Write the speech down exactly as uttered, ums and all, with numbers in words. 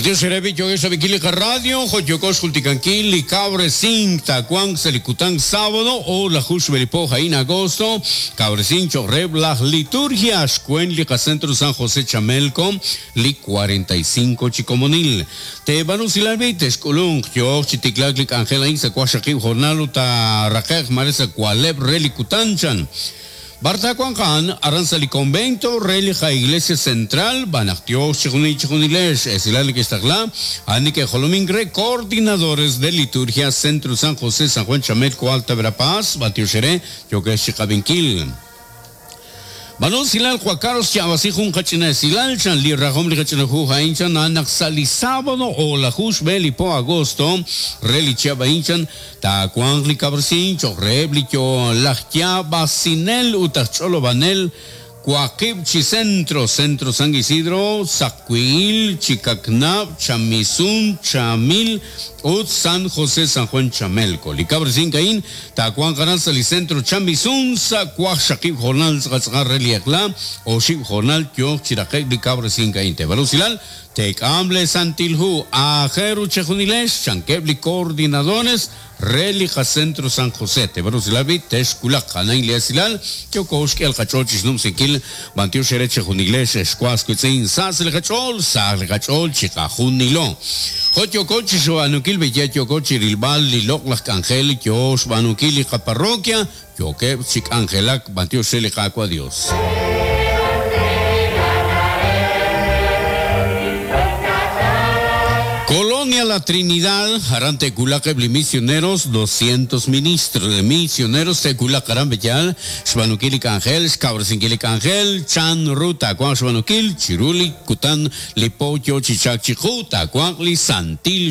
Matios Erebi, yo Bikili Radio, Joyokosh Julticanquil, li Cabrecín, Tacuán, Selicután, sábado, o la Jush Belipo, Jaín, agosto, Cabrecín, Chorreb, las liturgias, Cuen, Lica Centro San José Chamelco, li cuarenta y cinco Chicomonil. Te Banusilalbi, Texculung, Yo, Chiticlac, Lic Ángela, Insa, Cuashaqui, Jornal, Uta, Raquej, Maresa, Cualeb, Relikutan-chan. Bartacuancan, Aranzali Convento, Relija Iglesia Central, Banactio, Chijuni, Chijunilesh, Esilal Questagla, Anike Jolomingre, coordinadores de liturgia, Centro San José, San Juan Chamelco, Alta Verapaz, Batio Xeré, Yokesh Chicavinquil. Balón Silal, Juan Carlos Chavasijun, Hachina Silal, Chan Li Rajom, Li Hachina Ju, Hainchan, Anak Sali sábado o la Jush Beli po agosto, Reli Chiaba Inchan, Tacuan Li Cabrcin, Chorreb, Li Cho, Lajtia, Basinel, Utacholo Banel, Cuaquib, Chicentro, Centro San Isidro, Zacuil, Chicacnab, Chamizún, Chamil, Ut, San José, San Juan, Chamelco. Licabre sin Caín, Tacuán, Canal, Salicentro, Chamizún, Sacuaj, Shakib, Jornal, Zgazgar, Reliacla, Oshib, Jornal, Tio, Chiraquec, Licabre sin Caín, Tebalusilal, Tecamble, Santilhu, Ajeru, Chejunilesh, Chanquebli, coordinadores, Relija Centro San José, Tebarusilabi, Texculac, Janain Leasilal, Kyokoshki, El Cachochis, Numsikil, Bantio Xereche, Junilesh, Escuascuitzin, Sas, El Cachol, Sas, El Cachol, Chicajunilo. Jotiocochi, Xoanukil, Bellatiocochi, Rilbal, Liloc, Las Cangel, Kyosh, Banukil, Hija Parroquia, Yoqueb, Chic Angelac, Bantio Xelijaco, adiós. Colonia La Trinidad, Jarante Culacebli Misioneros, doscientos ministros de misioneros, Tecula Carambellal, Xbanukil Ángel, Xcabresinkil Ángel, Chan Ruta, Cuan Xbanukil, Chiruli, Cután, Lipocho, Chichac, Chijuta, Cuan Santil.